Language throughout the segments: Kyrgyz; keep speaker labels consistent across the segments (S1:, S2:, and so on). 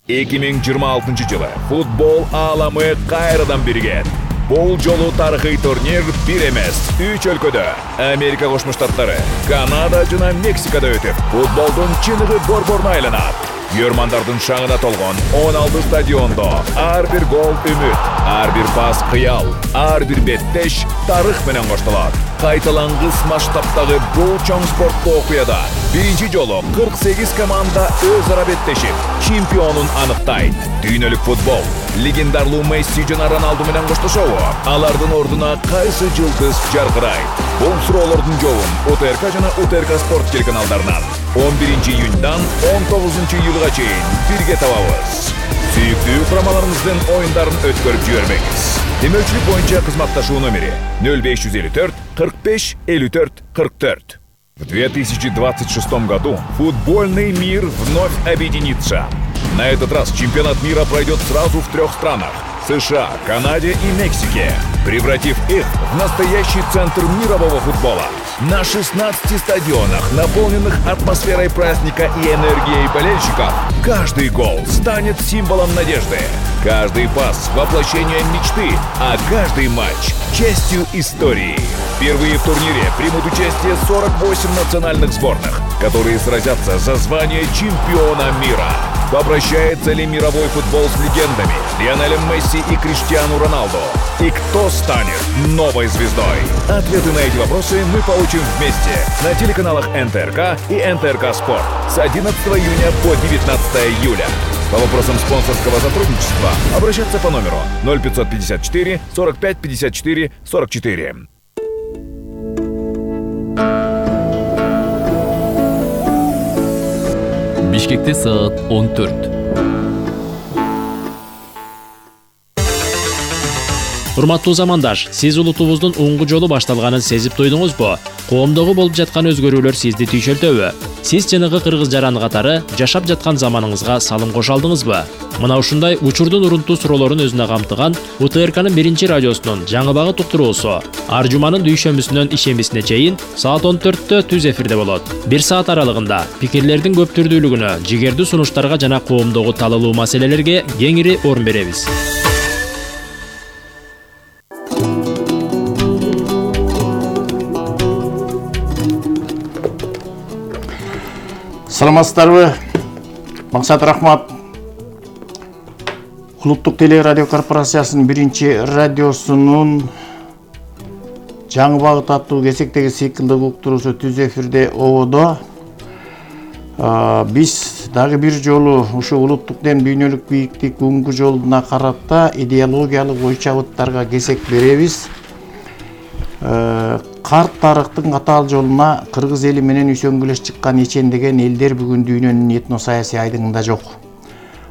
S1: 2026 жылы футбол ааламы кайрадан биригет. Бул жолу тарыхый турнир бир эмес, 3 өлкөдө Америка Кошмо Штаттары, Канада жана Мексикада өтүп, футболдун чыныгы борборуна айланат. Көрмандардын шаңына толгон 16 стадиондо ар бир гол үмүт, ар бир пас кыял, ар бир беттеш тарых менен коштолот. Кайталангыс масштабтагы бул чоң спорттуу окуяда биринчи жолу 48 команда өз ара беттешип, чемпионун аныктайт. Дүйнөлүк футбол легендарлуу Месси жана Роналду менен коштошобу? Алардын ордуна кайсы жылдыз жаркырайт? Бул суроолордун жообун УТРК жана УТРК Спорт телеканалдарынан 11 июньдан 19 июлга чейин бирге табабыз. Сүйүктүү курамаларыбыздын оюндарын өткөрүп жибербеңиз. Демөчүлүк боюнча кызматташуу номери 0554 45 54 44. В 2026 году футбольный мир вновь объединится. На этот раз чемпионат мира пройдет сразу в 3 странах – США, Канаде и Мексике, превратив их в настоящий центр мирового футбола. На 16 стадионах, наполненных атмосферой праздника и энергией болельщиков, каждый гол станет символом надежды, каждый пас – воплощением мечты, а каждый матч – частью истории. Впервые в турнире примут участие 48 национальных сборных, которые сразятся за звание чемпиона мира. Попрощается ли мировой футбол с легендами Лионелем Месси и Криштиану Роналду? И кто станет новой звездой? Ответы на эти вопросы мы получим вместе на телеканалах НТРК и НТРК Спорт с 11 июня по 19 июля. По вопросам спонсорского сотрудничества обращаться по номеру 0554 45 54 44.
S2: Бишкекте саат 14.
S3: Урматтуу замандаш, сиз улутубуздун оңгу жолу башталганын сезип туйдуңузбу? Коомдогу болуп жаткан өзгөрүүлөр сизди түйшөлтөбү? Сиз жанагы кыргыз жараны катары жашап жаткан заманыңызга салым кошо алдыңызбы? Мына ушундай учурдун урунтуу суроолорун өзүнө камтыган УТРКнын биринчи радиосунун жаңы багыт уктуруусу ар жуманын дүйшөмбүсүнөн ишембисине чейин саат 14-тө түз эфирде болот. 1 саат аралыгында пикирлердин көп түрдүүлүгүнө, жигердүү сунуштарга жана коомдогу талалуу маселелерге кеңири орун беребиз.
S4: Саламатсыздарбы? Максат Рахмат. Улуттук телерадио корпорациясынын биринчи радиосунун жаңы багыт аттуу кезектеги циклдык уктуруусу түз эфирде ободо. Биз дагы бир жолу ушу улуттуктен дүйнөлүк бийиктик оңгу жолуна карата идеологиялык ой чабыттарга кезек беребиз. Карт тарыхтын катаал жолуна кыргыз эли менен үйсөңгүлөш чыккан ичендеген элдер бүгүн дүйнөнүн этно саясий айдыңында жок.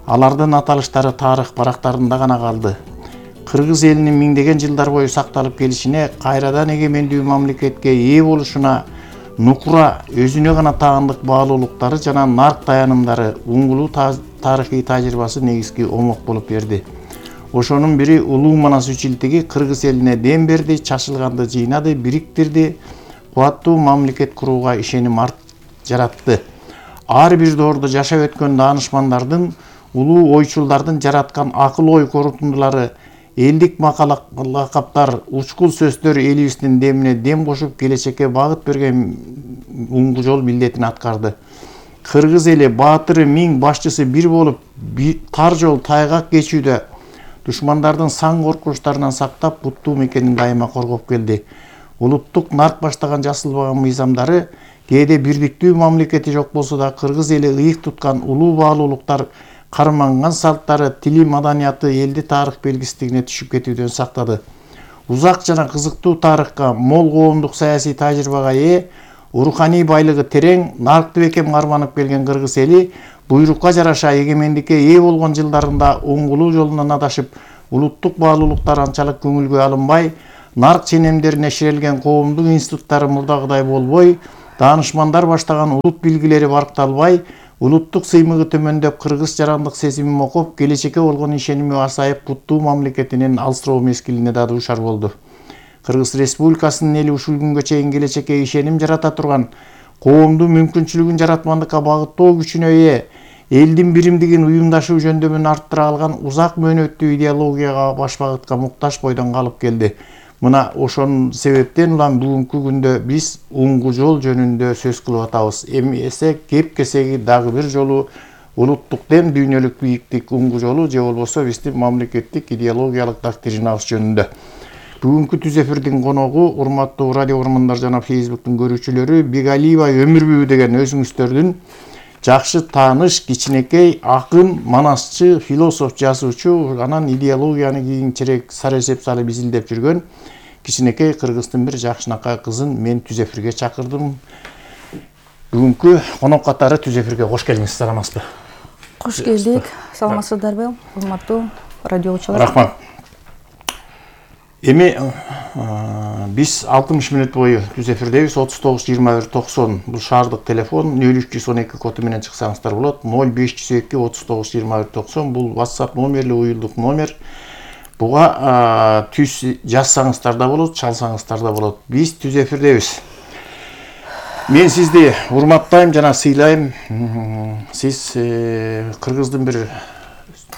S4: Алардын аталыштары тарых барактарында гана калды. Кыргыз элинин миңдеген жылдар бою сакталып келишине, кайрадан эгемендүү мамлекетке ээ болушуна нукура өзүнө гана таандык баалуулуктары жана нарк таянымдары уңгулуу тарыхый тажрыйбасы негизги омок болуп берди. Ошонун бири улуу Манас үчилтиги кыргыз элине дем берди, чачылганды жыйнады, бириктирди, кубаттуу мамлекет курууга ишеним жаратты. Ар бир доордо жашап өткөн даанышмандардын, улуу ойчулдардын жараткан акыл ой корутундулары, элдик лакаптар, учкул сөздөр элибиздин демине дем кошуп келечекке багыт берген оңгу жол милдетин аткарды. Кыргыз эли баатыры миң, башчысы бир болуп, тар жол тайгак кечүүдө душмандардын сан коркунучтарынан сактап, буттуу мекенин дайыма коргоп келди. Улуттук нарк баштаган жасылбаган мыйзамдары кээде бирдиктүү мамлекети жок болсо да кыргыз эли ыйык туткан улуу баалуулуктар, карманган салттары, тили, маданияты элди тарых белгисиздигине түшүп кетүүдөн сактады. Узак жана кызыктуу тарыхка, мол коомдук саясий тажрыйбага ээ, руханий байлыгы терең, наркты бекем карманып келген кыргыз эли буйрукка жараша эгемендикке ээ болгон жылдарында оңгулуу жолунан адашып, улуттук баалуулуктар анчалык көңүлгө алынбай, нарк ченемдерине ширелген коомдук институттары мурдагыдай болбой, даанышмандар баштаган улут билгилери баркталбай, улуттук сыймыгы төмөндөп, кыргыз жарандык сезими мокоп, келечекке болгон ишеними асайып, буттуу мамлекетинин алсыроо мезгилине да дуушар болду. Кыргыз Республикасынын эли ушул күнгө чейин келечекке ишеним жарата турган, коомдун мүмкүнчүлүгүн жаратмандыкка багыттоо күчүнө ээ, элдин биримдигин уюмдашуу жөндөмүн арттыра алган узак мөөнөттүү идеологияга баш багытка муктаж бойдон калып келди. Мына ошон себептен улам бүгүнкү күндө биз уңгу жол жөнүндө сөз кылып атабыз. Эмесе кеп кесеги дагы бир жолу улуттук дем дүйнөлүк бийиктик уңгу жолу же болбосо биздин мамлекеттик идеологиялык доктринабыз жөнүндө. Бүгүнкү түз эфирдин коногу урматтуу радио көрөрмандар жана Facebooктун көрүүчүлөрү Бегалиева Өмүрбү деген өзүңүздөрдүн жакшы тааныш кичинекей акын, манасчы, философ, жазуучу, анан идеологияны кийинчерээк сара эсеп салып изилдеп жүргөн кичинекей кыргыздын бир жакшынакай кызын мен түз эфирге чакырдым. Бүгүнкү конок катары түз эфирге кош келиңиз, саламатсызбы?
S5: Кош келдик. Саламатсыздарбы, урматтуу радиочулар?
S4: Рахмат. Эми биз 60 мүнөт бою түз эфирдебиз. 39 21 90 бул шаардык телефон, 0312 коду менен чыксаңыздар болот. 0502 39 21 90 бул WhatsApp номери, уюлдук номер. Буга түз жазсаңыздар да болот, чалсаңыздар да болот. Биз түз эфирдебиз. Мен сизди урматтайм жана сыйлайм. Сиз кыргыздын бир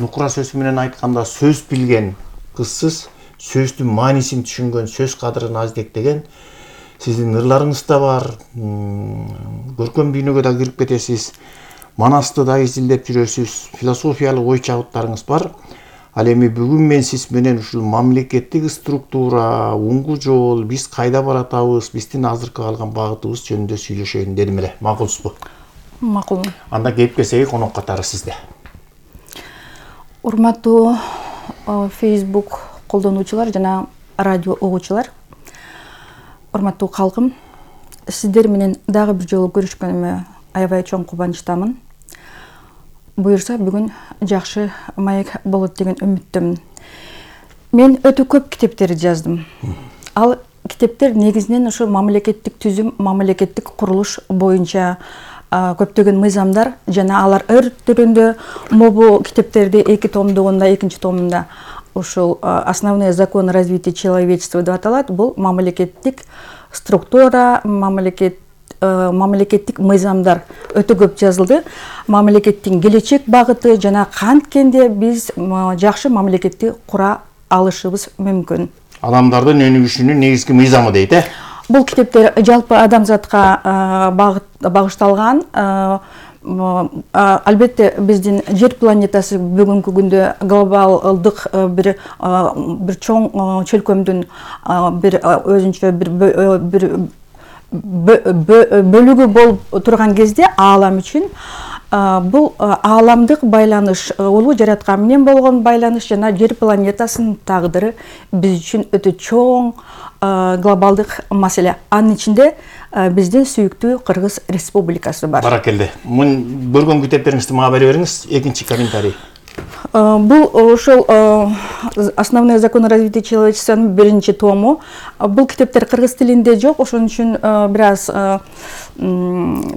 S4: нукура сөзү менен айтканда сөз билген кызсыз. Сөздүн маанисин түшүнгөн, сөз кадырын аздектеген, сиздин ырларыңыз да бар, көркөм дүйнөгө да кирип кетесиз, манасты да изилдеп жүрөсүз, философиялык ой чабыттарыңыз бар. Ал эми бүгүн мен сиз менен ушул мамлекеттик структура, уңгу жол, биз кайда баратабыз, биздин азыркы алган багытыбыз жөнүндө сүйлөшөйүн дедим эле. Макулсузбу?
S5: Макул.
S4: Анда кеп кесеги конок катары сизде.
S5: Урматтуу Facebook колдонуучулар жана радио угуучулар, урматтуу калкым, сиздер менен дагы бир жолу көрүшкөнүмө аябай чоң кубанычтамын. Буюрса бүгүн жакшы маек болот деген үмүттөмүн. Мен өтө көп китептерди жаздым. Ал китептер негизинен ошо мамлекеттик түзүм, мамлекеттик курулуш боюнча көптөгөн мыйзамдар жана алар өр түрүндө мобу китептерди 2 томдугунда, 2-чи томунда ушул основные законы развития человечества деп аталат. Бул мамлекеттик структура, мамлекеттик мыйзамдар өтө көп жазылды. Мамлекеттин келечек багыты жана канткенде биз жакшы мамлекетти кура алышыбыз мүмкүн.
S4: Адамдардын өнүгүшүнүн негизги мыйзамы дейт, э?
S5: Бул китептер жалпы адамзатка багышталган. Албетте биздин жер планетасы бүгүнкү күндө глобалдык бир чоң чөлкөмдүн бир өзүнчө бир бөлүгү болуп турган кезде аалам үчүн бул ааламдык байланыш, улуу жараткан менен болгон байланыш жана жер планетасынын тагдыры биз үчүн өтө чоң глобалдык маселе. Анын ичинде биздин сүйүктүү Кыргыз Республикасы бар.
S4: Баракелде. Мун көргөн китептериңизди мага бере бериңиз. Экинчи комментарий.
S5: Бул ошол основные законы развития человечествонун 1-чи тому. Бул китептер кыргыз тилинде жок, ошон үчүн бир аз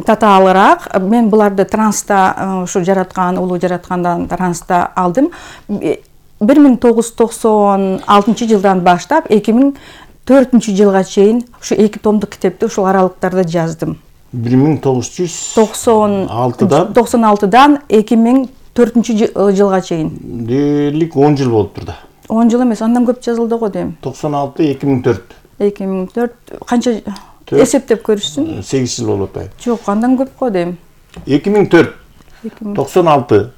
S5: татаалыраак. Мен буларды транста ушу жараткан, улуу жараткандан транста алдым. 1996 жылдан баштап 2004-жылга чейин ушу 2 томдук китепти ушул аралыктарда жаздым. 1996-дан 2004-жылга чейин.
S4: Дерлик 10 жыл болуптур да.
S5: 10 жыл эмес, андан көп жазылды го дейм.
S4: 96-2004.
S5: 2004 канча эсептеп көрүшсүн?
S4: 8 жыл болуп атпайбы?
S5: Жок, андан көп го дейм.
S4: 2004, 96.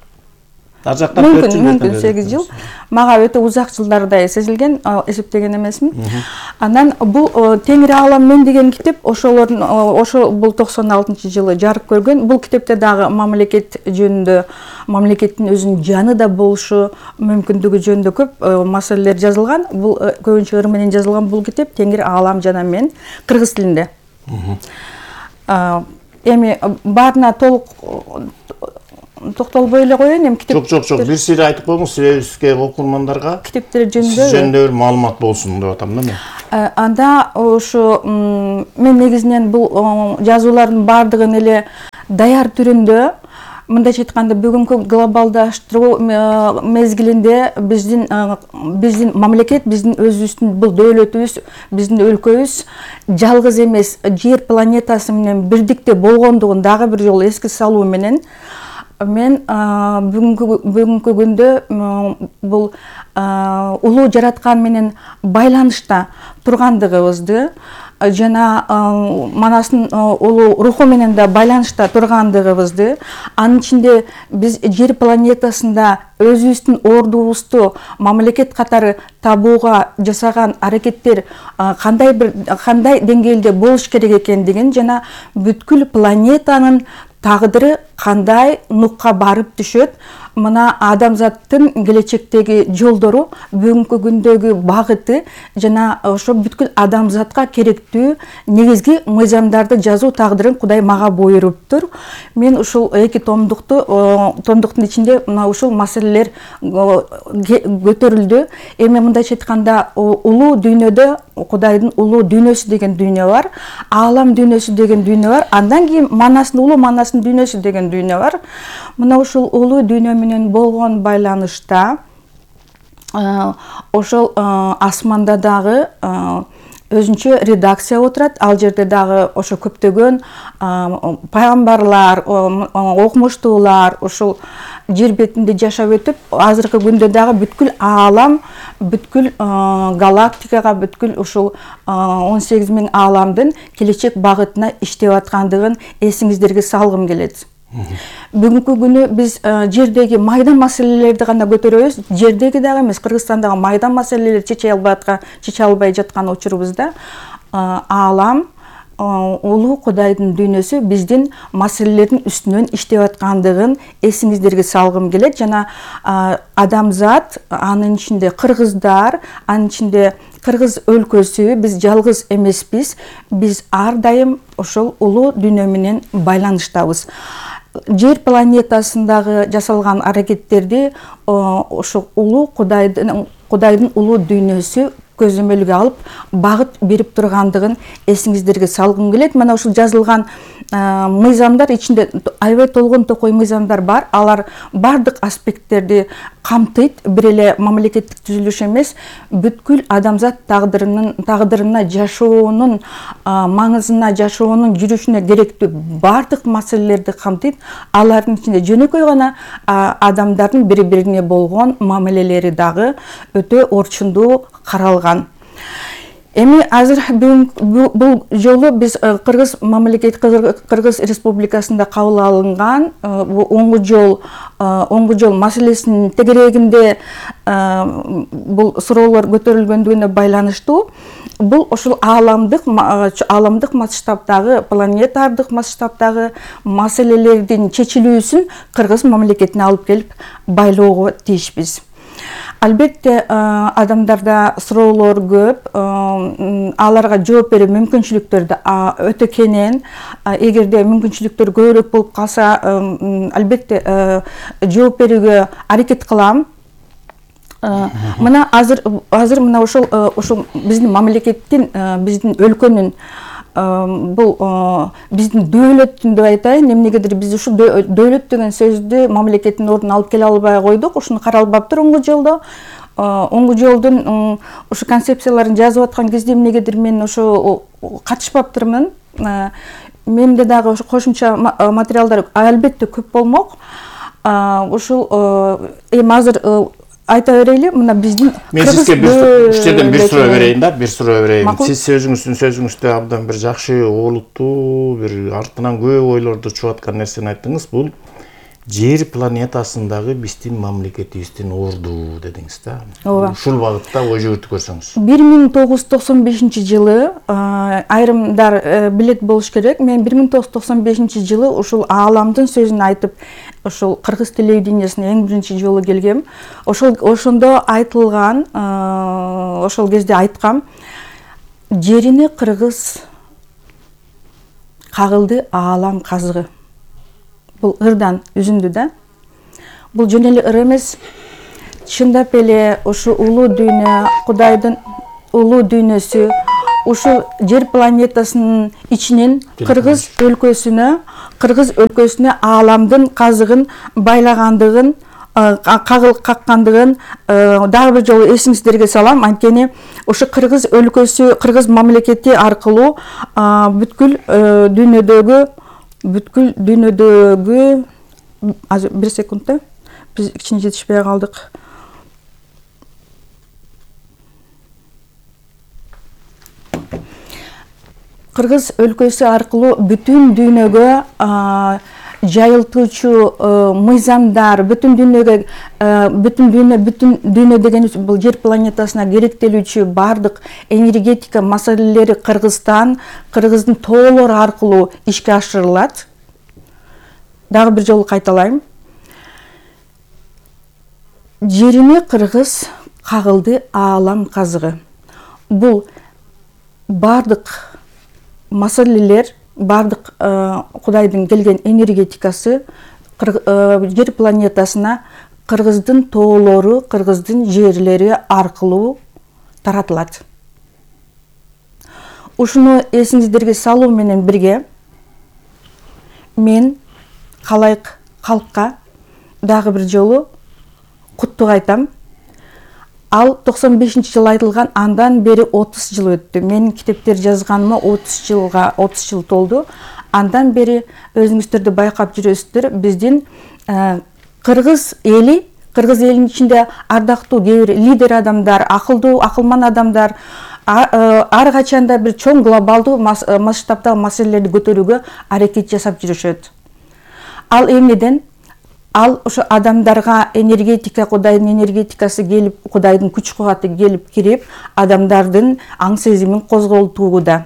S5: Мүмкүн 8 жыл. Мага өтө узак жылдардай сезилген, эсептеген эмесмин. Анан бул Теңир аалам мен деген китеп ошол бул 96-жылы жарык көргөн. Бул китепте дагы мамлекет жөнүндө, мамлекеттин өзүнүн жанында болушу мүмкүндүгү жөнүндө көп маселелер жазылган. Бул көбүнчө ыр менен жазылган бул китеп Теңир аалам жана мен кыргыз тилинде. Эми баарына толук токтолбой эле коеюн, эми китеп.
S4: Жок, бир сири айтып коюңуз себебибизге окурмандарга.
S5: Китептер жөнүндө.
S4: Жөнүндө бир маалымат болсун деп атам да мен.
S5: Анда ошо мен негизинен бул жазуулардын баардыгын эле даяр түрүндө, мындайча айтканда бүгүнкү глобалдаштыруу мезгилинде биздин мамлекет, биздин өзүбүздүн бул дөөлөтүбүз, биздин өлкөбүз жалгыз эмес, жер планетасы менен бирдикте болгондугун дагы бир жолу эске салуу менен Мен бүгүнкү күндө бул улуу жараткан менен байланышта тургандыгыбызды жана манастын улуу руху менен да байланышта тургандыгыбызды, анын ичинде биз жер планетасында өзүбүздүн ордубузду мамлекет катары табууга жасаган аракеттер кандай деңгээлде болуш керек экендигин жана бүткүл планетанын тагдыры кандай нукка барып түшөт, мына адамзаттын келечектеги жолдору, бүгүнкү күндөгү багыты жана ошо бүткүл адамзатка керектүү негизги мыйзамдарды жазуу тагдырын Кудай мага буйруптур. Мен ушул 2 томдуктун ичинде мына ушул маселелер көтөрүлдү. Эми мындайча айтканда, улуу дүйнөдө Кудайдын улуу дүйнөсү деген дүйнө бар, аалам дүйнөсү деген дүйнө бар, андан кийин манастын улуу манастын дүйнөсү деген дүйнө бар. Мына ушул улуу дүйнө менен болгон байланышта ошол асманда дагы өзүнчө редакция отурат. Ал жерде дагы ошо көптөгөн пайгамбарлар, окумуштуулар ушул жер бетинде жашап өтүп, азыркы күндө дагы бүткүл аалам, бүткүл галактикага, бүткүл ушул 18.000 ааламдын келечек багытына иштеп аткандыгын эсиңиздерге салгым келет. Бүгүнкү күнү биз жердеги майда маселелерди гана көтөрөбүз. Жердеги дагы эмес, Кыргызстандагы майда маселелерди чече албай жаткан учурубузда аалам, улуу Кудайдын дүйнөсү биздин маселелердин үстүнөн иштеп аткандыгын эсиңиздерге салгым келет. Жана адамзат, анын ичинде кыргыздар, анын ичинде Кыргыз өлкөсү, биз жалгыз эмеспиз. Биз ар дайым ошол улуу дүйнө менен байланыштабыз. Жер планетасындагы жасалган аракеттерди ошо улуу Кудайдын улуу дүйнөсү көзөмөлгө алып, багыт берип тургандыгын эсиңиздерге салгым келет. Мына ушул жазылган мыйзамдар ичинде аябай толгон токой мыйзамдар бар. Алар бардык аспекттерди камтыйт. Бир эле мамлекеттик түзүлүш эмес, бүткүл адамзат тагдырына жашоонун маңызына, жашоонун жүрүшүнө керектүү бардык маселелерди камтыйт. Алардын ичинде жөнөкөй гана адамдардын бири-бирине болгон мамилелери дагы өтө орчундуу каралган. Эми азыр бул жолу биз Кыргыз мамлекет, Кыргыз Республикасында кабыл алынган оңгу жол маселесинин тегерегинде бул суроолор көтөрүлгөндүгүнө байланыштуу. Бул ошол ааламдык масштабдагы, планетардык масштабдагы маселелердин чечилүүсүн Кыргыз мамлекетине алып келип байлоого тийишпиз. Албетте адамдарда суроолор көп, аларга жооп берүү мүмкүнчүлүктөр да өтө кенен. Эгерде мүмкүнчүлүктөр көбүрөөк болуп калса, албетте жооп берүүгө аракет кылам. Мына азыр мына ошол биздин мамлекеттин, биздин өлкөнүн, бул биздин дөөлөттүн деп айтайын, эмнегедир биз ушул дөөлөт деген сөздү мамлекеттин ордуна алып келе албай койдук. Ушуну каралбаптыр оңгу жолдо. Оңгу жолдун ушу концепцияларын жазып аткан кезде эмнегедир мен ошо катышпаптырмын. Менде дагы ошо кошумча материалдар албетте көп болмок. Ушул эми азыр айта берели, мына биздин
S4: мен сизге бир суроо берейин. Сиз сөзүңүздө абдан бир жакшы, олуттуу, бир артынан көп ойлорду чыгып аткан нерсени айттыңыз. Бул жер планетасындагы биздин мамлекетибиздин орду дедиңиз да. Ушул багытта ой жүгүртүп көрсөңүз. 1995-жылы айрымдар билет болуш керек. Мен 1995-жылы ушул ааламдын сөзүн айтып, ошол кыргыз телевидениясына эң биринчи жолу келгем. Ошондо айтылган, ошол кезде айткам, жерине кыргыз кагылды аалам казыгы. Бул ырдан үзүндү да. Бул жөн эле ыр эмес. Чындап эле ушу улуу дүйнө, Кудайдын улуу дүйнөсү, ушу жер планетасынын ичинен Кыргыз өлкөсүнө ааламдын казыгын байлагандыгын, каккандыгын дагы бир жолу эсиңиздерге салам. Анткени ушу Кыргыз өлкөсү, Кыргыз мамлекети аркылуу бүткүл дүйнөдөгү
S5: азыр 1 секундта биз кичине жетишпей калдык. Кыргыз өлкөсү аркылуу бүтүн дүйнөгө жайылтуучу мыйзамдар, бүтүн дүйнө деген бул жер планетасына керектелүүчү бардык энергетика маселелери Кыргыздын тоолору аркылуу ишке ашырылат. Дагы бир жолу кайталайм. Жерине Кыргыз кагылды аалам казыгы. Бул бардык маселелер, бардык Кудайдын келген энергетикасы жер планетасына Кыргыздын тоолору, Кыргыздын жерлери аркылуу таратылат. Ушуну эсиңиздерге салуу менен бирге мен калайык калкка дагы бир жолу куттук айтам. Ал 95-жылы айтылган, андан бери 30 жыл өттү. Менин китептер жазганыма 30 жыл толду. Андан бери өзүңүздөрдү байкап жүрөсүздөр, биздин кыргыз элинин ичинде ардактуу кээ бир лидер адамдар, акылдуу, акылман адамдар ар качанда бир чоң глобалдуу масштабдагы маселелерди көтөрүүгө аракет жасап жүрүшөт. Ал эмнеден? Ал ошо адамдарга энергетика, Кудайдын энергетикасы келип, Кудайдын күч кубаты келип кирип, адамдардын аң сезимин козголтууда.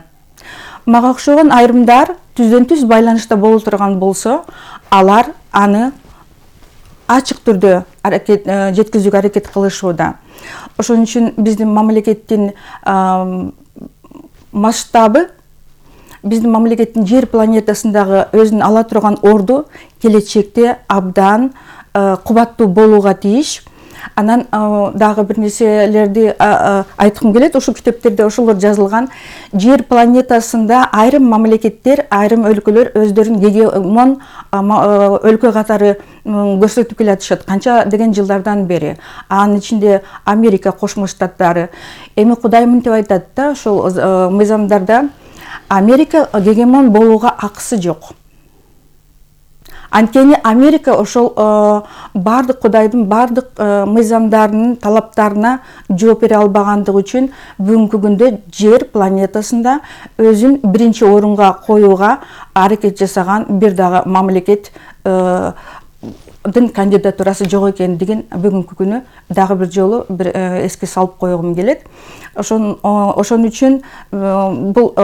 S5: Мага окшогон айрымдар түздөн-түз байланышта боло турган болсо, алар аны ачык түрдө жеткизүүгө аракет кылышууда. Ошон үчүн биздин мамлекеттин масштабы, биздин мамлекеттин жер планетасындагы өзүн ала турган орду келечекте абдан кубаттуу болууга тийиш. Анан дагы бир нерселерди айткым келет. Ушул китептерде ошолор жазылган. Жер планетасында айрым мамлекеттер, айрым өлкөлөр өздөрүн гегемон өлкө катары көрсөтүп келатышат канча деген жылдардан бери. Анын ичинде Америка Кошмо Штаттары. Эми Кудай мынтип айтат да, ошол мыйзамдарда Америка гегемон болууга акысы жок. Анткени Америка ошол бардык Кудайдын бардык мыйзамдарынын талаптарына жооп бере албагандыгы үчүн бүгүнкү күндө жер планетасында өзүн биринчи орунга коюуга аракет жасаган бир дагы мамлекет кандидатурасы жок экендигин бүгүнкү күнү дагы бир жолу эске салып койгум келет. Ошон үчүн бул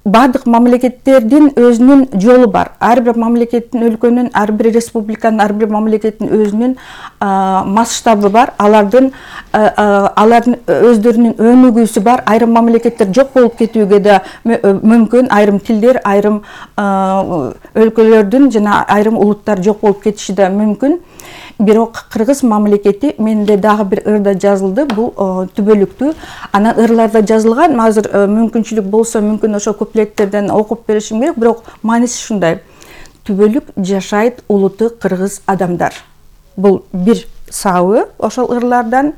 S5: бардык мамлекеттердин өзүнүн жолу бар. Ар бир мамлекеттин, өлкөнүн, ар бир республиканын, ар бир мамлекеттин өзүнүн масштабы бар. Алардын өздөрүнүн өнүгүүсү бар. Айрым мамлекеттер жок болуп кетүүгө да мүмкүн. Айрым тилдер, айрым өлкөлөрдүн жана айрым улуттар жок болуп кетиши да мүмкүн. Бирок Кыргыз мамлекети менде дагы бир ырда жазылды, бул түбөлүктүү. Анан ырларда жазылган, азыр мүмкүнчүлүк болсо, мүмкүн ошо куплеттерден окуп беришим керек, бирок мааниси ушундай. Түбөлүк жашайт улуты кыргыз адамдар. Бул бир сабы ошол ырлардан.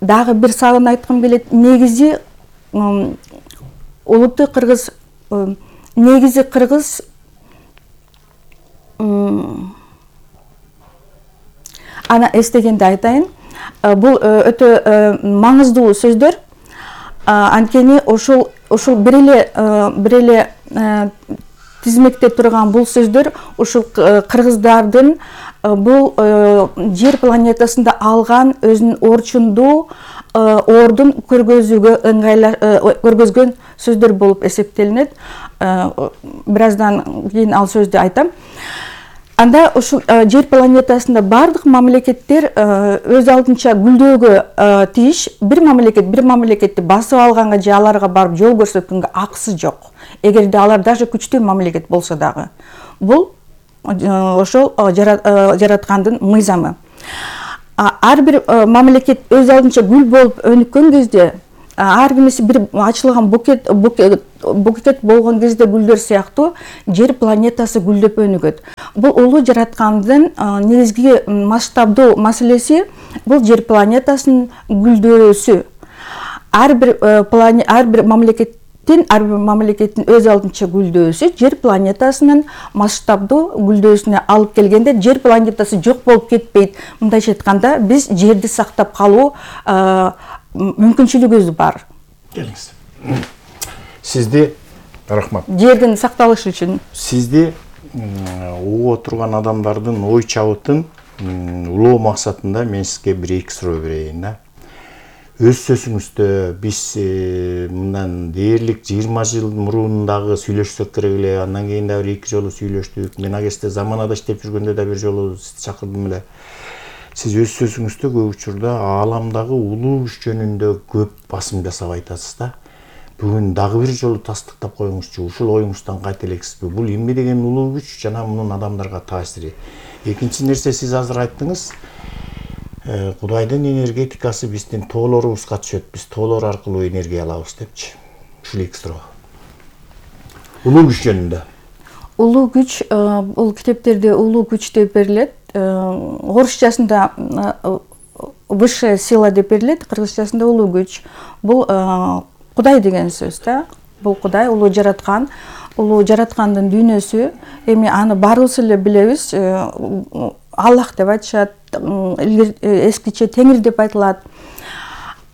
S5: Дагы бир сабын айткым келет. Негизи улуты кыргыз, негизи кыргыз ана эстегенде айтайын. Бул өтө маңыздуу сөздөр. Анткени ошол бир эле тизмекте турган бул сөздөр ушул кыргыздардын бул жер планетасында алган өзүнүн орчундуу ордун көргөзгөн сөздөр болуп эсептелинет. Бир аздан кийин ал сөздү айтам. Анда ушул жер планетасында бардык мамлекеттер өз алдынча гүлдөөгө тийиш. Бир мамлекетти басып алганга же аларга барып жол көрсөткөнгө акысы жок. Эгерде алар даже күчтүү мамлекет болсо дагы. Бул ошол жараткандын мыйзамы. Ар бир мамлекет өз алдынча гүл болуп өнүккөн кезде, ар бирisi бир ачылган букет болгон кезде гүлдөр сыяктуу жер планетасы гүлдөп өнүгөт. Бул улуу жараткандын негизги масштабдуу маселеси бул жер планетасынын гүлдөөсү. Ар бир ар бир мамлекеттин өз алдынча гүлдөөсү жер планетасынын масштабдуу гүлдөөсүнө алып келгенде жер планетасы жок болуп кетпейт. Мындайча айтканда биз жерди сактап калуу мүмкүнчүлүгүбүз бар.
S4: Келиңиз. Сизди рахмат.
S5: Жердин сакталышы үчүн.
S4: Сизди угуп отурган адамдардын ой чабытын улоо максатында мен сизге 1-2 суроо берейин да. Өз сөзүңүздө биз мындан дээрлик 20 жыл мурун сүйлөшсөк керек эле, андан кийин да 1-2 жолу сүйлөштүк. Мен агесте заманада иштеп жүргөндө да бир жолу чакырдым эле. Сиз өз сөзүңүздө көп учурда ааламдагы улуу күч жөнүндө көп басым жасап айтасыз да. Бүгүн дагы бир жолу тастыктап коюңузчу, ушул оюңуздан кайтелексизби? Бул эмне деген улуу күч жана мунун адамдарга таасири? Экинчи нерсе, сиз азыр айттыңыз, Кудайдын энергетикасы биздин тоолорубузга түшөт, биз тоолор аркылуу энергия алабыз депчи. Ушул 2 суроо. Улуу күч жөнүндө.
S5: Улуу күч, бул китептерде улуу күч деп берилет. Орусчасында высшая сила деп берилет, кыргызчасында улуу күч. Бул Кудай деген сөз да. Бул Кудай, улуу жараткан, улуу жараткандын дүйнөсү. Эми аны баарыбыз эле билебиз. Аллах деп айтышат, эскиче Теңир деп айтылат.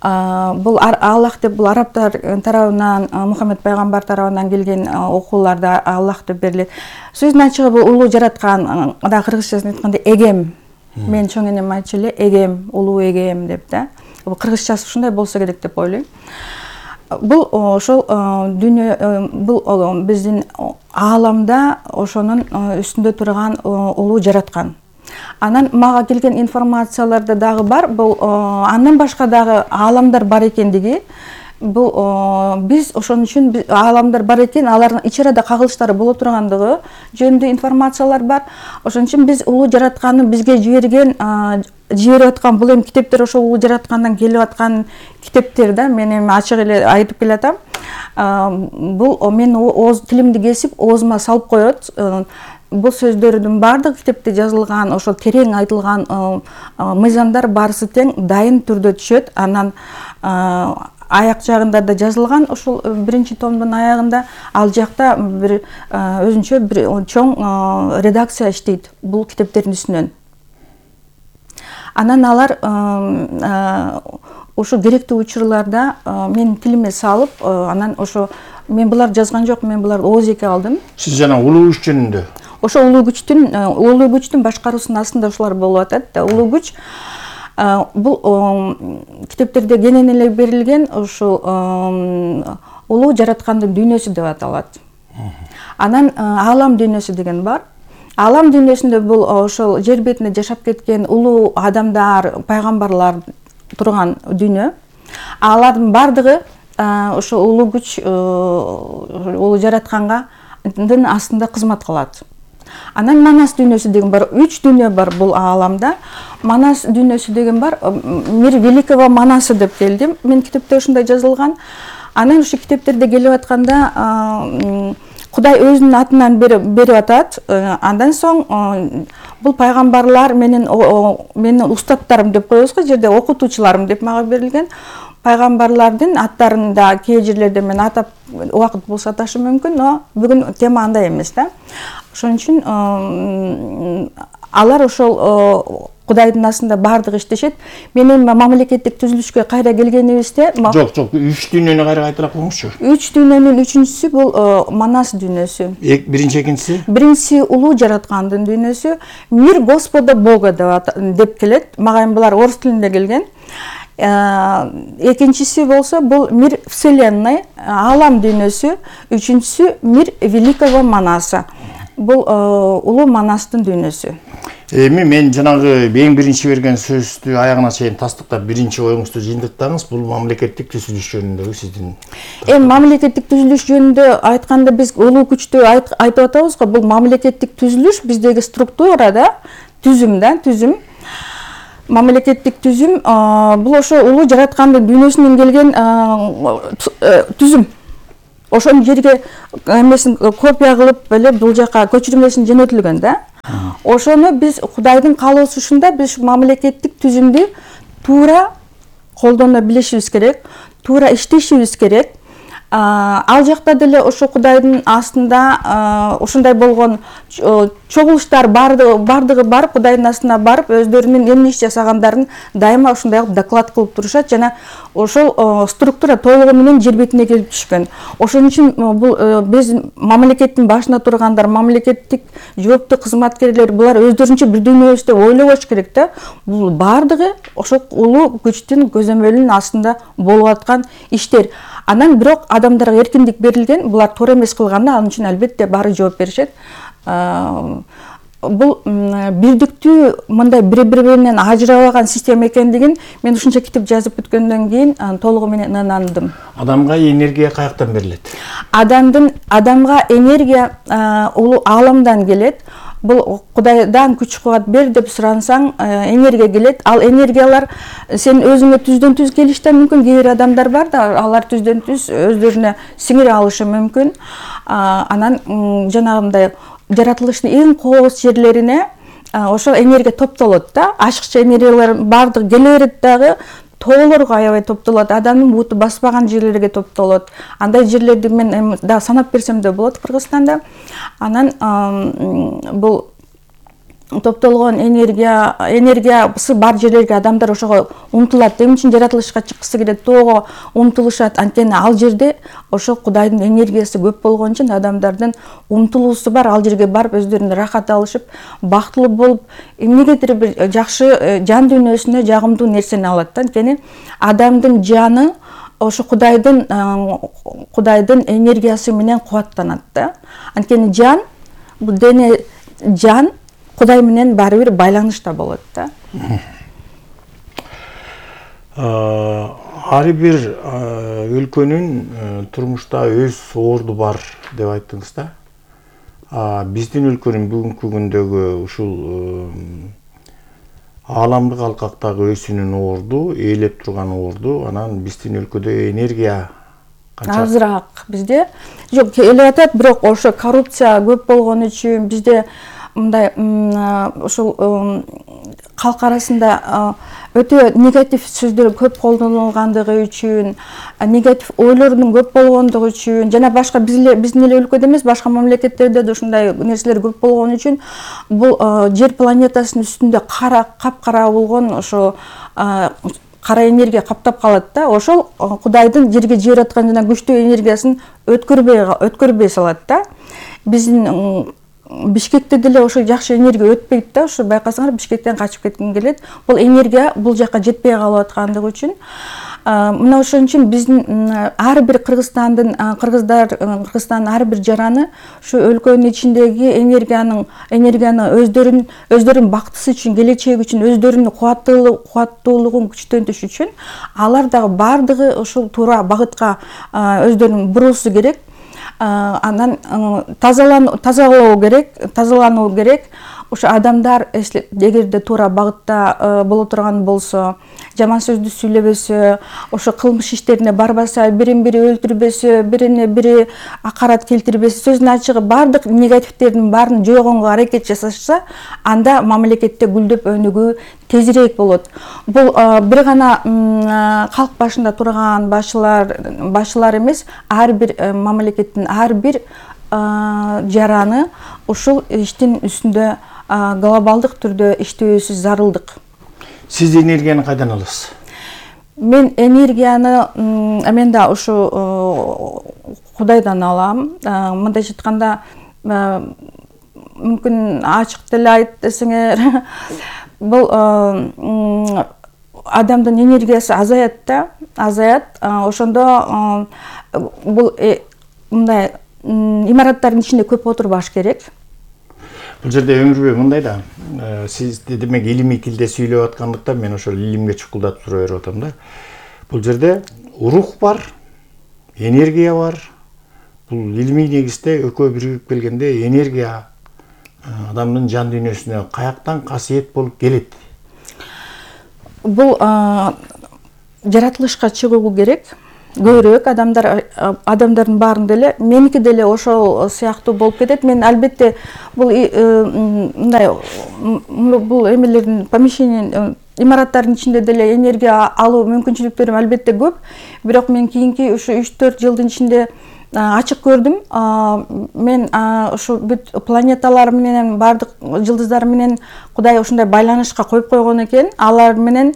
S5: Бул Аллах деп бул арабтар тарабынан, Мухаммед пайгамбар тарабынан келген окууларда Аллах деп берилет. Сөздүн ачыгы бул улуу жараткан, да кыргызчасын айтканда Эгем. Мен чоң энем айтчу эле, Эгем, улуу Эгем деп да. Бул кыргызчасы ушундай болсо керек деп ойлойм. Бул ошол дүйнө, бул биздин ааламда ошонун үстүндө турган улуу жараткан. Анан мага келген информацияларда дагы бар, бул андан башка дагы ааламдар бар экендиги. Бул биз ошон үчүн ааламдар бар экен, алардын ич арада кагылыштары боло тургандыгы жөнүндө информациялар бар. Ошон үчүн биз улуу жаратканды бизге жиберип аткан бул эми китептер ошол улуу жараткандан келип аткан китептер да. Мен эми ачык эле айтып келатам. Бул мен ооз тилимди кесип оозума салып коет. Бул сөздөрдүн баардыгы китепте жазылган, ошол терең айтылган мыйзамдар баарысы тең дайын түрдө түшөт. Анан аяк жагында да жазылган, ошол 1-чи томдун аягында ал жакта бир өзүнчө бир чоң редакция иштейт бул китептердин үстүнөн. Анан алар ошо керектүү учурларда менин тилиме салып, анан ошо мен булар жазган жок, мен буларды ооз-эки алдым.
S4: Сиз жана улуу күч жөнүндө.
S5: Ошо улуу күчтүн башкаруусунун астында ошолар болуп атат. Улуу күч бул китептерде кенен эле берилген ушул улуу жараткандын дүйнөсү деп аталат. Анан аалам дүйнөсү деген бар. Аалам дүйнөсүндө бул ошол жер бетинде жашап кеткен улуу адамдар, пайгамбарлар турган дүйнө. Алардын бардыгы ошо улуу күч, улуу жараткандын астында кызмат кылат. Анан Манас дүйнөсү деген бар, 3 дүйнө бар бул ааламда. Манас дүйнөсү деген бар, Мир Великого Манаса деп келдим. Мен китепте ушундай жазылган. Анан ушу китептерде келип атканда Кудай өзүнүн атынан берип атат. Андан соң бул пайгамбарлар менин устаттарым деп коебуз го, жерде окутуучуларым деп мага берилген. Пайгамбарлардын аттарын да кээ жерлерде мен атап убакыт болсо аташым мүмкүн, но бүгүн тема андай эмес да. Ошон үчүн алар ошол Кудайдын астында бардыгы иштешет. Менин мамлекеттик түзүлүшкө кайра келгенибизде
S4: Жок, 3 дүйнөнү кайра кайталап коюңузчу.
S5: 3 дүйнөнүн 3-үчүсү бул Манас дүйнөсү.
S4: Биринчи, экинчиси?
S5: Биринчиси улуу жараткандын дүйнөсү, Мир Господа Бога деп келет. Мага эми булар орус тилинде келген. Экинчиси болсо бул Мир Вселенной, аалам дүйнөсү, үчүнчүсү Мир Великого Манаса. Бул улуу Манастын дүйнөсү.
S4: Эми мен жанагы эң биринчи берген сөздү аягына чейин тастыктап, биринчи оюңузду жыйынтыктаңыз. Бул мамлекеттик түзүлүш жөнүндөгү сиздин.
S5: Мамлекеттик түзүлүш жөнүндө айтканда биз улуу күчтү айтып атабыз го. Бул мамлекеттик түзүлүш биздеги структура да, түзүм. Мамлекеттик түзүм бул ошо улуу жараткандын дүйнөсүнөн келген түзүм. Ошону жерге эмесин копия кылып эле бул жака көчүрмөсүн жөнөтүлгөн да. Ошону биз Кудайдын каалоосунда биз мамлекеттик түзүмдү туура колдоно билишибиз керек, туура иштешибиз керек. Ал жакта деле ошо Кудайдын астында ушундай болгон чогулуштар бардыгы барып, Кудайдын астына барып, өздөрүнүн эмне иш жасагандарын дайыма ушундай доклад кылып турушат жана ошол структура толугу менен жер бетине келип түшкөн. Ошон үчүн бул биз мамлекеттин башына тургандар, мамлекеттик жооптуу кызматкерлер булар өздөрүнчө бир дүйнөбүз деп ойлобош керек да. Бул бардыгы ошол улуу күчтүн көзөмөлүнүн астында болуп аткан иштер. Анан бирок адамдарга эркиндик берилген, булар туура эмес кылганда ал үчүн албетте баары жооп беришет. Бул бирдиктүү мындай бири-бири менен ажырабаган система экендигин мен ушунча китеп жазып бүткөндөн кийин толугу менен ынандым.
S4: Адамга энергия каяктан берилет?
S5: Адамга энергия улуу ааламдан келет. Бул Кудайдан күч кубат бер деп сурансаң, энергия келет. Ал энергиялар сен өзүңө түздөн түз келиши да мүмкүн. Кээ бир адамдар бар да, алар түздөн түз өздөрүнө сиңире алышы мүмкүн. Анан жанагындай жаратылыштын эң кооз жерлерине ошол энергия топтолот да. Ашыкча энергиялар бардыгы келе берет дагы, тоолорго аябай топтолот, адамдын буту баспаган жерлерге топтолот. Андай жерлерди мен да санап берсем да болот Кыргызстанда. Анан бул топтолгон энергиясы бар жерлерге адамдар ошого умтулат. Эмне үчүн жаратылышка чыккысы келет, тоого умтулушат. Анткени ал жерде ошо Кудайдын энергиясы көп болгон үчүн адамдардын умтулуусу бар. Ал жерге барып өздөрүнө рахат алышып, бактылуу болуп, эмнегедир бир жакшы жан дүйнөсүнө жагымдуу нерсени алат да. Анткени адамдын жаны ошо Кудайдын энергиясы менен кубаттанат да. Анткени жан, бул дене жан Кудай менен баары бир байланышта болот да.
S4: Ар бир өлкөнүн турмушта өз орду бар деп айттыңыз да. Биздин өлкөнүн бүгүнкү күндөгү ушул ааламдык алкактагы өзүнүн орду, ээлеп турган орду, анан биздин өлкөдө энергия канча?
S5: Азыраак бизде. Жок, эле атат, бирок ошо коррупция көп болгон үчүн бизде мындай ушул калк арасында өтө негатив сөздөр көп колдонулгандыгы үчүн, негатив ойлордун көп болгондугу үчүн жана башка биздин эле өлкөдө эмес, башка мамлекеттерде да ушундай нерселер көп болгон үчүн бул жер планетасынын үстүндө капкара болгон ошо кара энергия каптап калат да. Ошол Кудайдын жерге жиберип аткан жана күчтүү энергиясын өткөрбөй салат да. Биздин Бишкекте деле ошо жакшы энергия өтпөйт да. Ошо байкасаңар Бишкектен качып кетким келет. Бул энергия бул жака жетпей калып аткандыгы үчүн мына ошон үчүн биздин ар бир Кыргызстандын ар бир жараны ушу өлкөнүн ичиндеги энергияны өздөрүнүн бактысы үчүн, келечеги үчүн, өздөрүнүн кубаттуулугун күчтөнтүш үчүн алар дагы бардыгы ушул туура багытка өздөрүн буруусу керек. Анан тазалануу керек. Ошо адамдар эгерде туура багытта боло турган болсо, жаман сөздү сүйлөбөсө, ошо кылмыш иштерине барбаса, бирин-бири өлтүрбөсө, бирине-бири акарат келтирбесе, сөздүн ачыгы бардык негативтердин баарын жойгонго аракет жасашса, анда мамлекетте гүлдөп өнүгүү тезирээк болот. Бул бир гана калк башында турган башчылар эмес, ар бир мамлекеттин ар бир жараны ушул иштин үстүндө глобалдык түрдө иштөөсү зарылдык.
S4: Сиз энергияны кайдан аласыз?
S5: Мен энергияны мен да ушу Кудайдан алам. Мындайча айтканда, мүмкүн ачык деле айт десеңер, бул адамдын энергиясы азаят. Ошондо бул мындай имараттардын ичинде көп отурбаш керек.
S4: Бул жерде Өмүрбек мындай да, сиз демек илимий тилде сүйлөп аткандыктан мен ошол илимге чукулдатып тура берип атам да. Бул жерде рух бар, энергия бар. Бул илимий негизде экөө биригип келгенде энергия адамдын жан дүйнөсүнө каяктан касиет болуп келет?
S5: Бул жаратылышка чыгуу керек. Көбүрөөк адамдардын баарын деле, меники деле ошол сыяктуу болуп кетет. Мен албетте бул мындай бул эмелердин помещениянын имараттардын ичинде деле энергия алуу мүмкүнчүлүктөрүм албетте көп. Бирок мен кийинки ушу 3-4 жылдын ичинде ачык көрдүм. Мен ушу бүт планеталар менен, бардык жылдыздар менен Кудай ушундай байланышка коюп койгон экен. Алар менен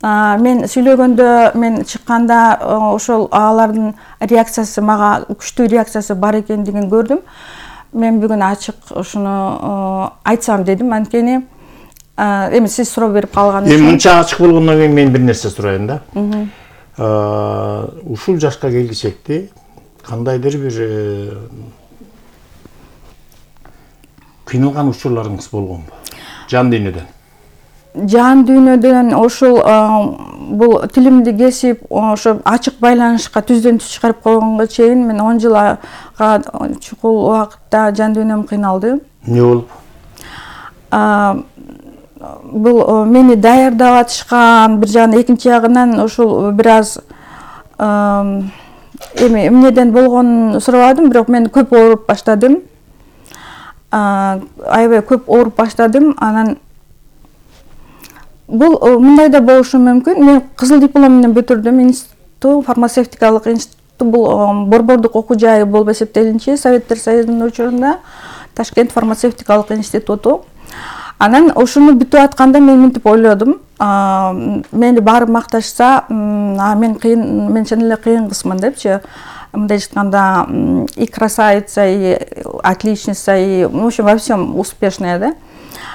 S5: мен сүйлөгөндө, мен чыкканда ошол алардын реакциясы мага күчтүү реакциясы бар экендигин көрдүм. Мен бүгүн ачык ушуну айтсам дедим. Анткени эми сиз суроо берип калган үчүн.
S4: Эми мынча ачык болгондон кийин мен бир нерсе сурайын да. Ушул жашка келгичекти кандайдыр бир кыйналган учурларыңыз болгонбу? Жан дүйнөдөн.
S5: Жан дүйнөдөн ошол бул тилимди кесип, ошо ачык байланышка түздөн түз чыгарып койгонго чейин мен 10 жылга чукул убакытта жан дүйнөм кыйналды.
S4: Эмне болуп?
S5: Бул мени даярдап атышкан бир жагынан, экинчи жагынан ошол бир аз эми эмнеден болгонун сурабадым, бирок мен көп ооруп баштадым. Аябай көп ооруп баштадым. Анан бул мындай да болушу мүмкүн. Мен кызыл диплом менен бүтүрдүм. Институт, фармацевтикалык институт, бул борбордук окуу жайы болуп эсептелинчи Советтер Союзунун учурунда Ташкент фармацевтикалык институту. Анан ошону бүтүп атканда мен мынтип ойлодум. Мени барып макташса, мен чын эле кыйын кызмын депчи. Мындай айтканда, и красавица, и отличница, и в общем во всем успешная, да.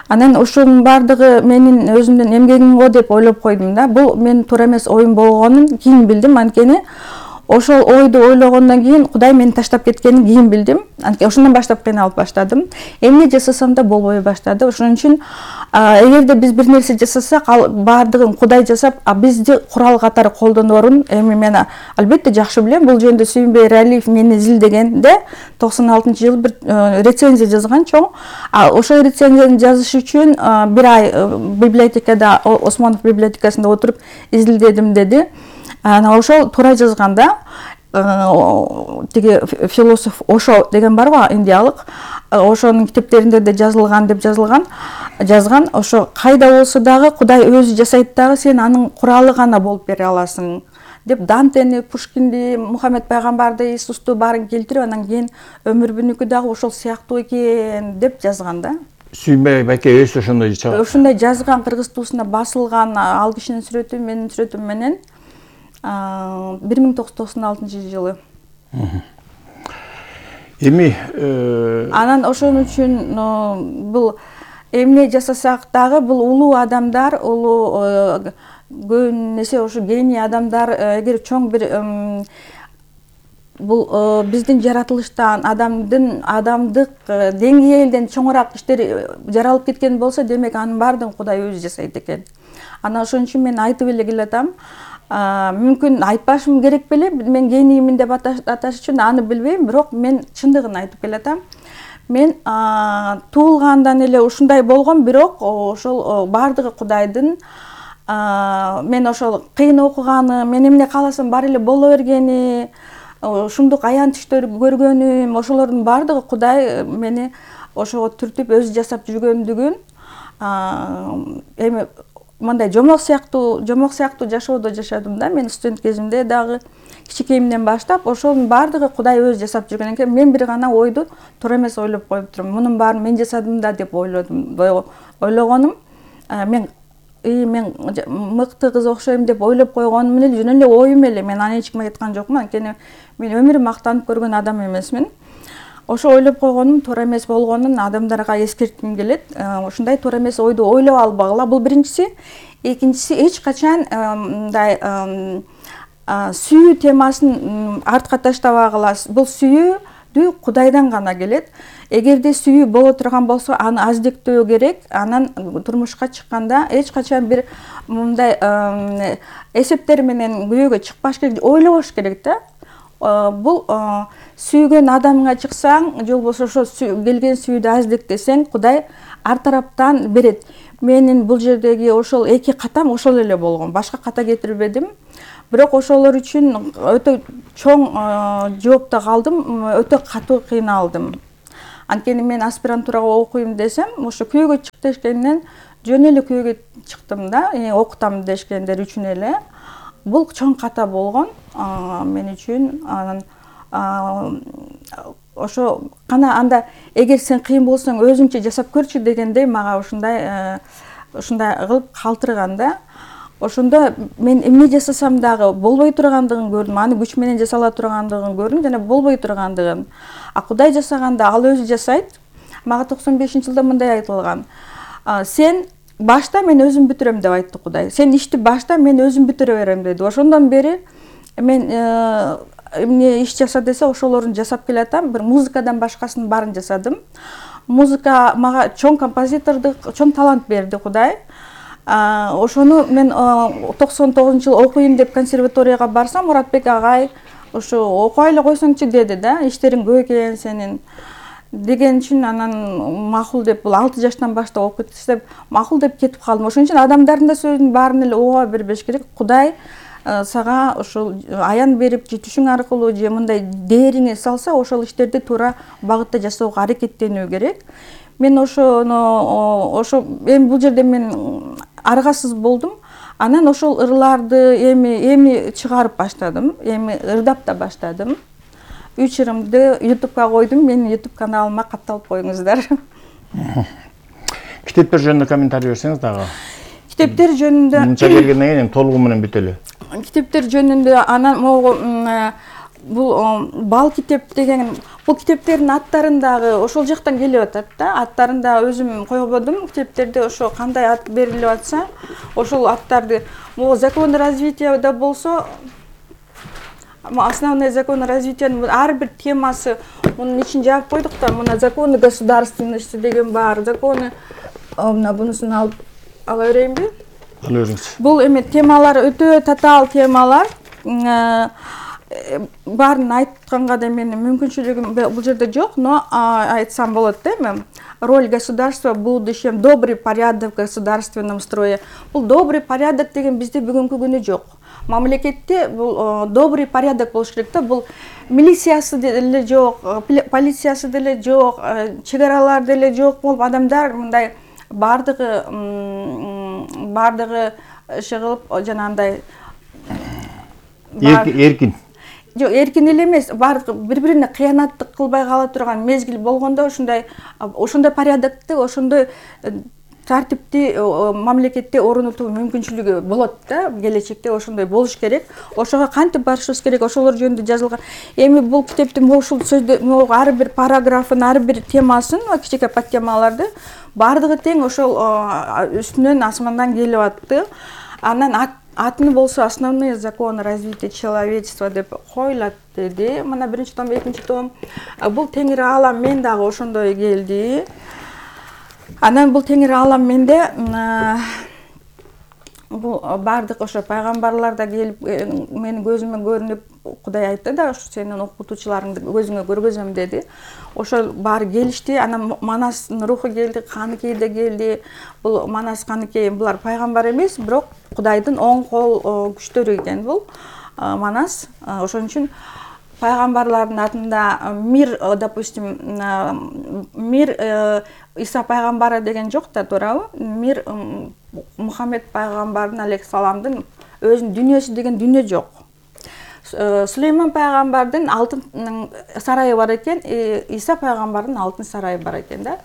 S5: Анан ошонун бардыгы менин өзүмдүн эмгегим го деп ойлоп койдум да. Бул менин туура эмес оюм болгонун кийин билдим. Анткени ошол ойду ойлогондон кийин Кудай мени таштап кеткенин кийин билдим. Анткени ошондон баштап кыйналып баштадым. Эмне жасасам да болбой баштады. Ошон үчүн эгерде биз бир нерсе жасасак, ал бардыгын Кудай жасап, бизди курал катары колдонорун эми мен албетте жакшы билем. Бул жөнүндө Сүйүнбай Эралиев мени изилдегенде 96-жылы бир рецензия жазган чоң. Ошол рецензияны жазыш үчүн бир ай библиотекада, Осмонов библиотекасында отуруп изилдедим деди. Анан ошол туура жазганда, тиги философ Ошо деген барбы, индиялык, ошонун китептеринде де жазылган деп жазган. Ошо кайда болсо дагы Кудай өзү жасайт дагы, сен анын куралы гана болуп бере аласың деп Дантени, Пушкинди, Мухаммед пайгамбарды, Иисусту баарын келтирип, анан кийин өмүрбүнүкү дагы ошол сыяктуу экен деп жазган да.
S4: Сүйүнбай байке өзү ошондой чыгат.
S5: Ошондой жазган, кыргыз туусунда басылган, ал кишинин сүрөтү менин сүрөтүм менен 1996-жылы.
S4: Эми
S5: анан ошон үчүн бул эмне жасасак дагы бул улуу адамдар, улуу көбүнесе ошо гений адамдар, эгер чоң бир бул биздин жаратылыштан, адамдык деңгээлден чоңураак иштер жаралып кеткен болсо, демек анын баардыгын Кудай өзү жасайт экен. Анан ошон үчүн мен айтып эле келатам. Мүмкүн айтпашым керек беле, мен гениймин деп аташ үчүн аны билбейм, бирок мен чындыгын айтып келатам. Мен туулгандан эле ушундай болгом, бирок ошол баардыгы Кудайдын. Мен ошол кыйын окуганы, мен эмне кааласам бар эле боло бергени, ушундук аянтыштарды көргөнүм, ошолордун баардыгы Кудай мени ошого түртүп өзү жасап жүргөндүгүн, эми мындай жомок сыяктуу жашоодо жашадым да. Мен студент кезимде дагы кичикейимден баштап ошонун баардыгы Кудай өзү жасап жүргөн экен. Мен бир гана ойду туура эмес ойлоп коюп турам. Мунун баарын мен жасадым да деп ойлогонум. Мен мыкты кыз окшойм деп ойлоп койгонум эле жөн эле оюм эле. Мен аны эч кимге айткан жокмун. Анткени мен өмүрүм мактанып көргөн адам эмесмин. Ошо ойлоп койгонум туура эмес болгонун адамдарга эскертким келет. Ушундай туура эмес ойду ойлоп албагыла. Бул биринчиси. Экинчиси, эч качан мындай сүйүү темасын артка таштабагыла. Бул сүйүүдү Кудайдан гана келет. Эгерде сүйүү боло турган болсо, аны аздектөө керек. Анан турмушка чыкканда эч качан бир мындай эсептер менен күйөөгө чыкпаш керек, ойлобош керек да. Бул сүйгөн адамыңа чыксаң, же болбосо ошо келген сүйүүдү аздектесең, Кудай ар тараптан берет. Менин бул жердеги ошол эки катам ошол эле болгон. Башка ката кетирбедим. Бирок ошолор үчүн өтө чоң жоопто калдым, өтө катуу кыйналдым. Анткени мен аспирантурага окуйм десем, ошо күйөөгө чык дегенден жөн эле күйөөгө чыктым да, окутам дешкендер үчүн эле. Бул чоң ката болгон мен үчүн. Анан ошо кана анда эгер сен кыйын болсоң өзүңчө жасап көрчү дегендей мага ушундай кылып калтырган да. Ошондо мен эмне жасасам дагы болбой тургандыгын көрдүм, аны күч менен жасала тургандыгын көрдүм жана болбой тургандыгын. Кудай жасаганда ал өзү жасайт. Мага 95-жылда мындай айтылган. Сен башта мен өзүм бүтүрөм деп айтты Кудай. Сен ишти башта мен өзүм бүтүрө берем деди. Ошондон бери мен эмне иш жаса десе ошолорун жасап келатам. Бир музыкадан башкасынын баарын жасадым. Музыка мага чоң композитордук, чоң талант берди Кудай. Ошону мен 99-жылы окуйм деп консерваторияга барсам, Муратбек агай ошо окуй эле койсоңчу деди да, иштериң көп экен сенин деген үчүн анан макул деп, бул 6 жаштан баштап окуйт деп макул деп кетип калдым. Ошон үчүн адамдардын да сөзүн баарын эле ооба бербеш керек. Кудай сага ошол аян берип, же түшүң аркылуу же мындай дээриңе салса, ошол иштерди туура багытта жасоого аракеттенүү керек. Мен ошо бул жерде мен аргасыз болдум. Анан ошол ырларды эми чыгарып баштадым, эми ырдап да баштадым. 3 ырымды YouTube'га койдум. Менин YouTube каналыма катталып коюңуздар.
S4: Китептер жөнүндө комментарий берсеңиз дагы.
S5: Китептер жөнүндө
S4: мынча келгенден кийин толугу менен бүтөлү.
S5: Китептер жөнүндө анан бул бал китеп деген, бул китептердин аттарын дагы ошол жактан келип атат да. Аттарын да өзүм койбодум. Китептерде ошо кандай ат берилип атса, ошол аттарды могу закон развитияда болсо, основной закон развитиянын ар бир темасы мунун ичин жаап койдук да. Мына законы государственности деген бар, законы мына бунусун алып ала берейинби?
S4: Ал өзүңүз.
S5: Бул эме темалар өтө татаал темалар. Баарын айтканга да менин мүмкүнчүлүгүм бул жерде жок, но айтсам болот да эми. Роль государства в будущем, добрый порядок в государственном строе. Бул добрый порядок деген бизде бүгүнкү күнү жок. Мамлекетте бул добрый порядок болуш керек да. Бул милициясы деле жок, полициясы деле жок, чек-аралар деле жок болуп, адамдар мындай бардыгы иши кылып жанагындай
S4: эркин.
S5: Жок, эркин эле эмес, бардыгы бири-бирине кыянаттык кылбай кала турган мезгил болгондо ошондой порядокты, ошондой тартипти мамлекетте орнотуу мүмкүнчүлүгү болот да. Келечекте ошондой болуш керек. Ошого кантип барышыбыз керек, ошолор жөнүндө жазылган. Эми бул китептин ушул сөздө ар бир параграфын, ар бир темасын, кичине подтемаларды бардыгы тең ошол үстүнөн асмандан келип атты. Анан атын болсо основные законы развития человечества деп коюлат деди. Мына 1-том, 2-том. Бул теңир аалам мен дагы ошондой келди. Анан бул теңир аалам менде бул бардык ошо пайгамбарлар да келип менин көзүмө көрүнүп, Кудай айтты да, ошо сенин окутуучуларыңды көзүңө көргөзөм деди. Ошол баары келишти. Анан Манастын руху келди, Каныкей да келди. Бул Манас, Каныкей булар пайгамбар эмес, бирок Кудайдын оң кол күчтөрү экен бул Манас. Ошон үчүн пайгамбарлардын атында мир, допустим, мир Иса пайгамбары деген жок да, туурабы? Мир Мухаммед пайгамбардын алейхиссаламдын өзүнүн дүйнөсү деген дүйнө жок. Сулейман пайгамбардын алтын сарайы бар экен, Иса пайгамбардын алтын сарайы бар экен да.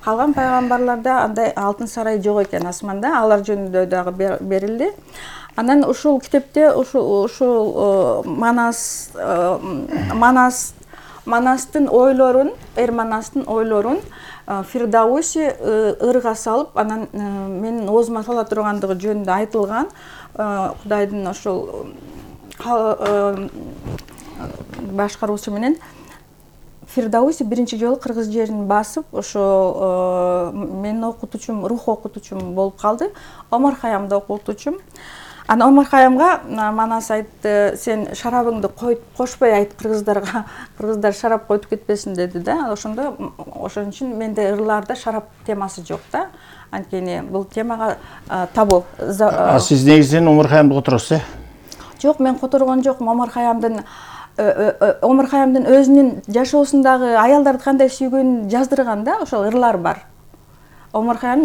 S5: Калган пайгамбарларда андай алтын сарай жок экен асманда, алар жөнүндө дагы берилди. Анан ушул китепте ушул Манастын ойлорун, Манастын ойлорун Фирдауси ырга салып, анан менин оозума сала тургандыгы жөнүндө айтылган. Кудайдын ошол башкаруусу менен Фирдауси биринчи жолу кыргыз жерин басып, ошо менин окутуучум, рух окутуучум болуп калды. Омар Хаямда окутуучум. Ана Омар Хаямга Манас айтты, сен шарабыңды кошпой айт кыргыздарга, кыргыздар шарап койтуп кетпесин деди да. Ошон үчүн менде ырларда шарап темасы жок да. Анткени бул темага табуу.
S4: Сиз негизинен Омар Хаямды которосуз,
S5: Жок, мен которгон жокмун. Омар Хаямдын өзүнүн жашоосундагы аялдарды кандай сүйгөнүн жаздырган да, ошол ырлар бар. Омар Хаям